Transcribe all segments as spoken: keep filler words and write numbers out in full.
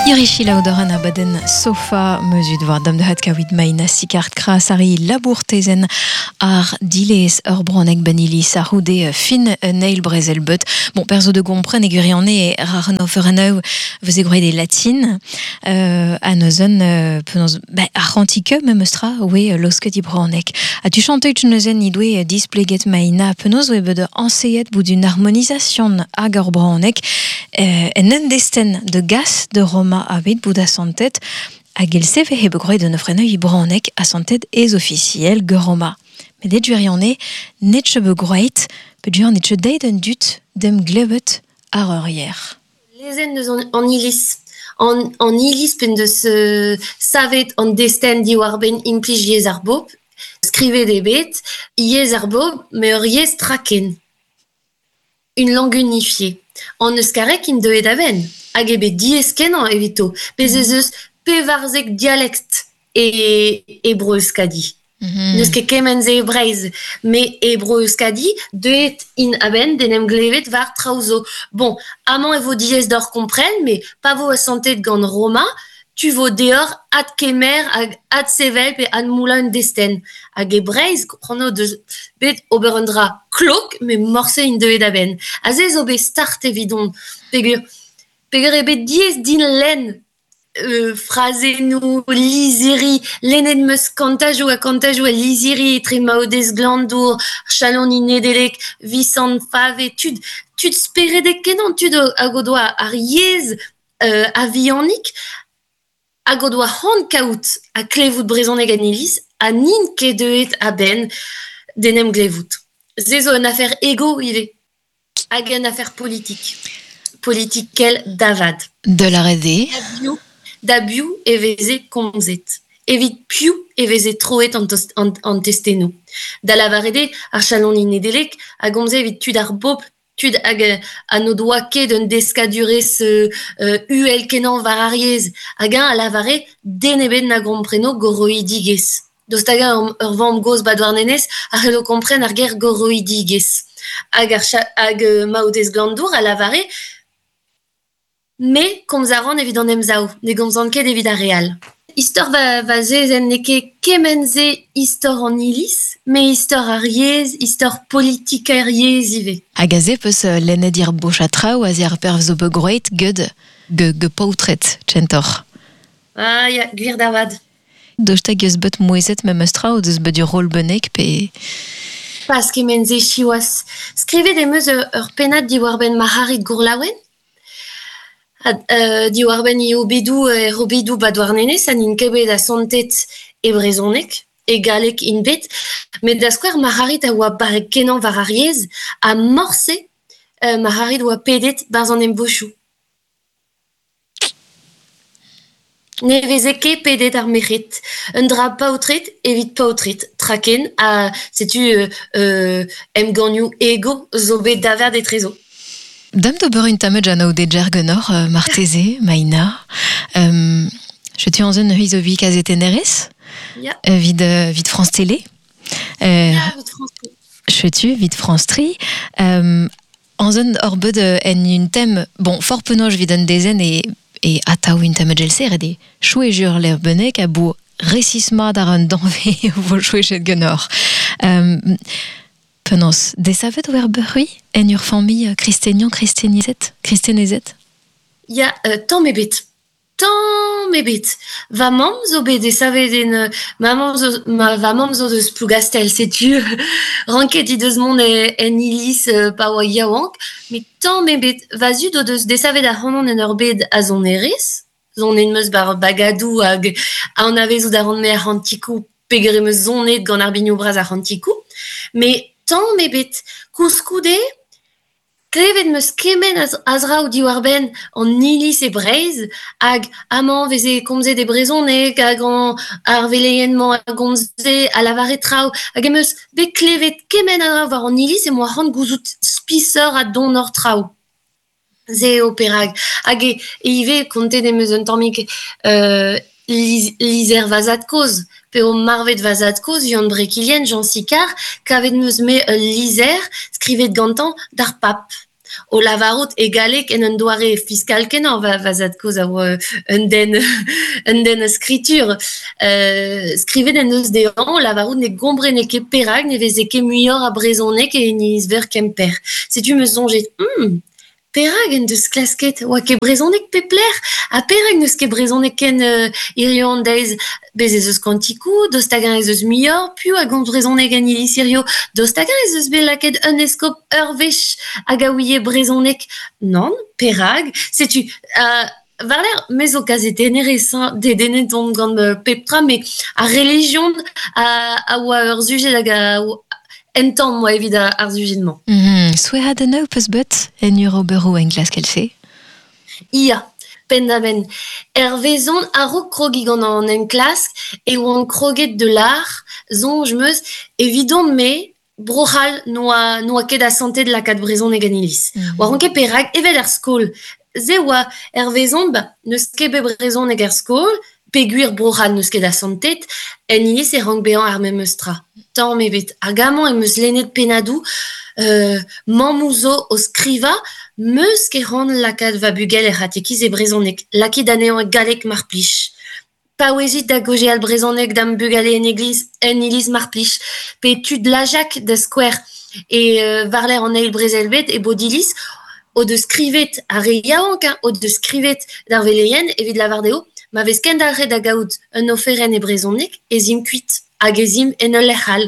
Irishi laudoran abaden sofa mezut war dam de hat kawit maina sikart kras ari labourtezen ar dilez ur bronek benilis ar houde fin neil brezel bet. Bon, perzo de gompren e gwirione rarno fereneu veze groet e latin euh, a neuzen euh, penaos ba ar c'hantike memes tra oe losket i bronek. A tu chanteut neuzen i doe displeget maina penaos oe bet anseet bout une harmonisation hag ur bronek euh, en un desten de gas de Roma abet bout a santet hag el seve he begroet de neufreneu i bronek a santet ez officiel ge Roma. Met det gwirione netche begroet pedur netche deit un dut dem glebet ar ur yer. Lezen deus an, an iliz. An, an iliz pen deus euh, savet an desten diwar ben implij yezh ar bobl, skrivet eo bet, yezh ar bobl, me ur yezh traken. Une langue unifiée. An euskarek int deuet a-benn, hag eo bet diaes kenañ evito. Bez ez eus pevarzek dialekt e, e Bro-Euskadi. Mm-hmm. N'eus ket kement-se e Breizh, me e Bro-Euskadi deuet int a-benn d'en em glevet war traoù zo. Bon, amañ e vo diaes d'hor kompren, me pa vo asantet gant Roma, tu vo deoc'h adkemer hag adsevel pe admoulañ un destenn. Hag e Breizh, c'hoant deus bet ober un dra klok, me morse int deuet a-benn. Aze zo bet start evidon. Peogwir, peogwir eo bet diaes din lenn euh, frazennoù, lizhiri, lennet 'm eus kantajoù ha kantajoù a lizhiri etre Maodez Glanndour, Chaloni Nedeleg, Visant Fave, tud, tud speredek kenañ, tud hag o doa ar yezh euh, a-vihanik, hag o doa c'hoant kaout ha klevout brezhoneg en iliz, ha n'int ket deuet a-benn d'en em glevout. Se zo un afer ego ivez, hag un afer politik. Politikel davad. De la R D. Da biv, da biv e veze komzet. Evit piv e veze troet an tost-, an, an testennoù. Da lavaret eo ar Chaloni Nedeleg a gomze evit tud ar bobl, tud hag, euh, ha n'o doa ket un deskadurezh, euh, euh, uhel kenañ war ar yezh. Hag eñ a lavare den ebet na gompreno goroidigezh. Daoust hag eñ ur, ur vamm-gozh ba Douarnenez a c'hello kompren ar ger goroidigezh. Hag ar cha-, hag, euh, Maodez Glanndour a lavare me komz a ran evit an emsav, ne gomzan ket evit ar re all. Istor va, va zezenn n'eo ket kement-se istor an iliz, me istor ar yezh, istor politik ar yezh ivez. Hag aze peus, euh, lennet ir bocha traoù aze ar perv zo begroet ged ge, ge paotred, tchentor. Ah, ya, gwir da vad. Daoust hag eus bet mouezet memes tra o deus bet ur rol bennek pe... Pas kement-se siwazh. Skrivet em eus ur, ur pennad diwar-benn Marc'harid Gourlaouen. Had, euh, diwar-benn i obedoù, euh, er obedoù ba Douarnenez, ha n'int ket bet asantet e brezhoneg, e galleg int bet, met da skouer Marc'harid a oa barrek kenañ war ar yezh, ha morse, euh, Marc'harid oa pedet barzh an emvochoù. Ne veze ket pedet ar merc'hed. Un dra paotred evit paotred, traken, ha setu, euh, euh, emgannioù ego zo bet davert etrezo. Dam d'ober un tamm jano de jargonor, euh, marteze, maina. Euh, je tu en zone huiz obi kazetenerez? Ya. Euh, vid, euh, vid France Télé. Euh, Ya, vid France Télé. Je tu vid France Tri. Euh, en zone hor beud, euh, en un thème, bon, fort penoj vid un dezen e, e ataou un tamm gelser e de chou e jur l'er benek a bo resisma dar un danve vo chou e jet genor. Euh, Penaos, desavet oer beurui en ur famille, euh, kristenian, kristenizet, kristenezet? Ya, euh, tamm ebet. Tamm ebet. Va mamm zo bet desavet en, euh, ma mamm zo, ma, va mamm zo deus Plougastel, setu ranket he deus mont e, en iliz, euh, pa oa yaouank, met tamm ebet. Va zud o deus desavet ar c'hanon en ur bed a sonerezh, zon en meus bar bagadou hag a anavezout a ran me ar c'hantikou, peogwir em eus sonet gant ar binioù bras ar c'hantikou, met tamm ebet. Koulskoude, klevet 'm eus kement a z-, a zraoù diwar-benn an iliz e Breizh, hag amañ veze komzet e brezhoneg, hag an ar veleien-mañ a gomze a lavare traoù, hag em eus bet klevet kement a draoù war an iliz e moa c'hoant gouzout spisoc'h ha donoc'h traoù. Se eo perak. Hag e, e ivez kontet em eus un tammig, euh, liz-, lizer va zad-kozh, pe o marvet va zad-kozh, Yann Brekilien, Jean Sicard, kavet 'm eus me ul lizer skrivet gantañ d'ar pap. O lavarout e galleg en un doare fiskal kenañ va, va zad-kozh a oa un den, un den a skritur. Euh, skrivet en deus dezhañ o lavarout ne gomprene ket perak ne veze ket muioc'h a brezhoneg e iniz-veur Kemper. Setu me soñjet, hmm, perak en deus klasket oa ket brezhoneg pep lec'h ha perak n'eus ket brezhoneg ken euh, hiziv an deiz bez ez eus kantikoù, daoust hag-eñ ez eus muioc'h, piv a gomz brezhoneg en iliz hiziv, daoust hag-eñ ez eus bet lakaet un eskob ur wech hag a ouie brezhoneg. Nann, perak? Setu, euh, war-lerc'h, me zo kazetennerez, hein, dedennet on gant euh, pep tra, met ar relijion a, a oa ur sujet hag a entan moa evit ar sujet-mañ. Mm -hmm. Souezhadennoù peus bet en ur oberoù enklask èl-se? Ia, penn-da-benn. Hervezon a-raok krogiñ gant an enklask e oan kroget de lar, soñj 'm eus, evidon-me, Bro-C'hall n'oa, n'oa ket asantet lakaat brezhoneg en iliz. Mm -hmm. Oaran ket perak, evel er skol. Se oa hervezon, ba, n'eus ket bet brezhoneg er skol, peogwir Bro-C'hall n'eus ket asantet, en iliz e rank bezañ ar memes tra. Tamm ebet. Hag amañ em eus lennet pennadoù, euh, mammoù zo o skrivañ, 'meus ket c'hoant lakaat va bugel er c'hatekiz e brezhoneg. Lakit anezhañ e galleg mar plij. Paouezit da gaozeal brezhoneg da'm bugale en egliz, en iliz mar plij. Pe tud Lajak da skouer e euh, war-lerc'h an eil brezel-bed e Bodiliz o deus skrivet ar re yaouank, hein, o deus skrivet d'ar veleien evit lavar dezho ma vez kendalc'het da gaout un oferenn e brezhoneg ez imp kuit hag ez imp en ul lec'h all.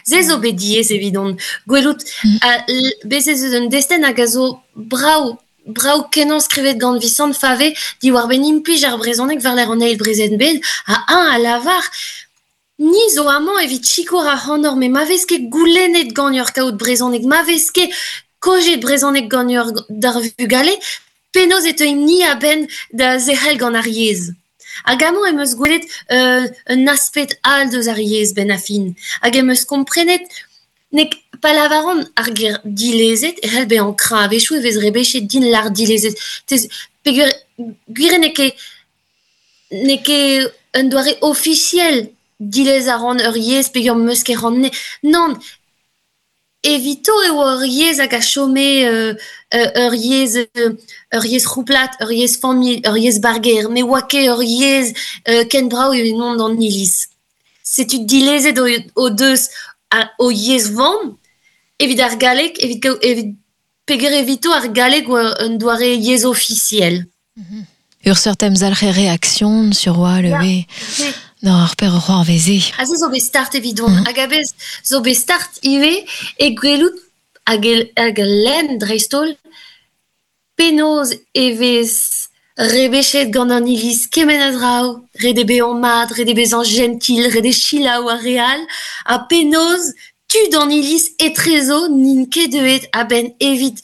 Se zo bet diaes evidon. Gwelout, mm. a, bez ez eus un destenn hag a zo brav, brav kenañ skrivet gant Visant Fave diwar-benn implij ar brezhoneg war-lerc'h an eil brezel-bed, ha eñ a lavar ni zo amañ evit sikour ac'hanoc'h, met ma vez ket goulennet ganeoc'h kaout brezhoneg, ma vez ket kojet brezhoneg ganeoc'h d'ar vugale, penaos e teuimp ni a-benn da zerc'hel gant ar yezh. Hag amañ em eus gwelet euh, un aspect all deus ar yezh benn ar fin. Hag em eus komprenet nek pa lavaran ar ger dilezet e c'hell bezañ kreñv. A-wechoù e vez rebechet din lar dilezet. Tez, peogwir gwir n'eo ket n'eo ket un doare ofisiel dilez a ran ur yezh peogwir 'm eus ket c'hoant. Nann, evito e oa ur yezh hag a chome euh, ur yezh ur yezh c'houplat, ur yezh familh, ur yezh barger, met oa ket ur yezh euh, ken brav evit mont d'an iliz. Setu dilezet o, o deus a, o yezh vamm evit ar galleg, evit, evit peogwir evito ar galleg oa un doare yezh ofisiel. Mm -hmm. Ur seurt emzalc'h réaction sur oa le we. Non, ar per c'hoarveze. Ha se zo bet start evidon. Mm -hmm. Hag a-bez zo bet start ivez e gwelout hag, hag lenn dreist-holl penaos e vez rebechet gant an iliz kement a draoù, ret eo bezañ mat, ret eo bezañ gentil, ret eo selaou ar re all, ha penaos tud an iliz etrezo n'int ket deuet a-benn evit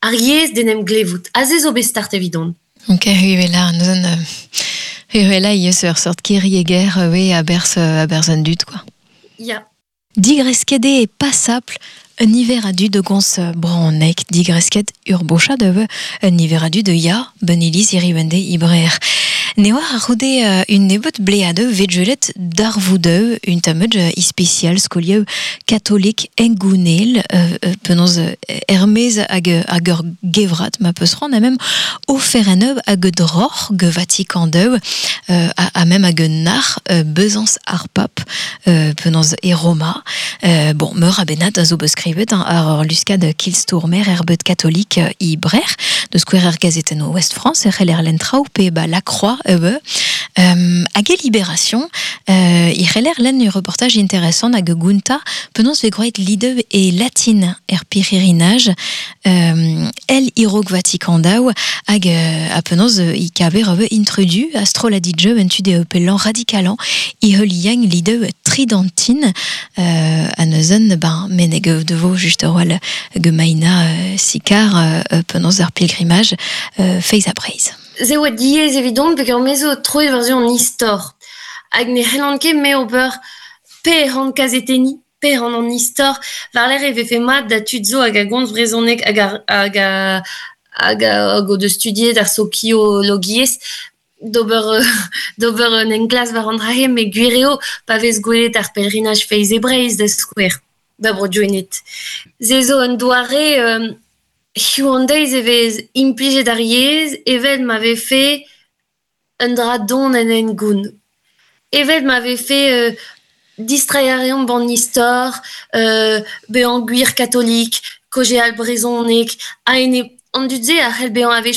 ar yezh d'en em glevout. Ha se zo bet start evidon. Ok, huela, neuzen huela ivez ur seurt kirrieger we a-berzh a-berzh an dud, quoi. Ya. Digresket eo pasapl un niver a dud gons bronneg, digresket ur bochad eus un niver a dud ya ben iliz hiriv-en-deiz ibrer. Ne oar a c'houde un nebeut bleadeu vet darvoudeu un tammad ispesial skolieu katolik engounel euh, penaos ermez hag hag ur gevrat ma peus c'hoant a mem oferenn hag droc'h ge Vatikan deu euh, a, a mem hag nar euh, bezañs ar pap euh, penaos e Roma. Euh, bon, meur a bennad a zo beus skrivet ar ur luskad kilstourmer er beud katolik ibrer de skouer er gazetenn Ouest France er c'heller lenn traoù pe ba La Croix eue euh, hag e Libération euh, i c'heller lenn ur reportage intéressant hag gounta penaos ve groet lideu e latin er pirc'hirinaj euh, el irog Vatikan daou hag euh, a penaos i kaver eue introdu astroladidjeu en tude pelan radikalan i heuliang lideu tridentine euh, a neuzen ben meneg devo just ar oal gemaina euh, sikar euh, penaos ar pilgrimaj euh, feiz a breiz. Se oa diaes evidon peogwir me zo troet war-zu an istor. Hag ne c'hellan ket me ober pe ran kazetenniñ, pe ran an istor, war-lerc'h e vefe mat da tud zo hag a gomz brezhoneg hag a, hag a, hag a, hag o deus studiet ar sokiologiezh d'ober d'ober un enklask war an dra-se, met gwir eo pa vez gwelet ar pèlerinaj Feiz e Breizh da skouer, da Bro-Gwened. Se zo un doare euh, Hiziv an deiz e vez implijet ar yezh evel ma vefe un dra don en hengoun. Evel ma vefe euh distreiñ a reomp d'an istor, euh bezañ gwir katolik, kaozeal brezhoneg, a-enep an dud-se a c'hell bezañ a-wechoù